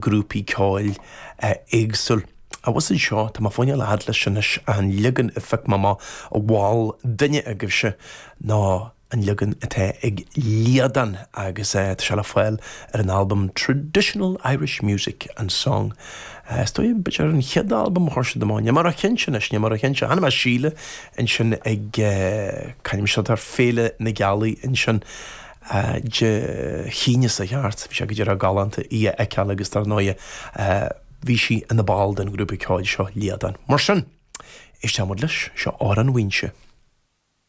Grúpaí ceoil éagsúil. Abhus anseo, tá mé fá choinne dul a fhad leis anois, an leagan a phioc mé amach a mhol duine agaibhse ná an leagan atá ag Liadán agus tá sé le fáil ar an albam Traditional Irish Music and Song. Is dóigh, b'fhéidir an chéad albam a chuir siad amach, níl mé ró-chinnte anois, níl mé ró-chinnte. Chonaic mé Síle ansin ag, c'ainm siad ar Féile na Gealaí ansin. Dé hAoine seo thart. Bhí sé go díreach galánta í a fheiceáil agus dar ndóighe bhí sí ina ball den ghrúpa ceoil seo, Liadán. Mar sin, éistfidh muid leis, seo Amhrán Mhaínse.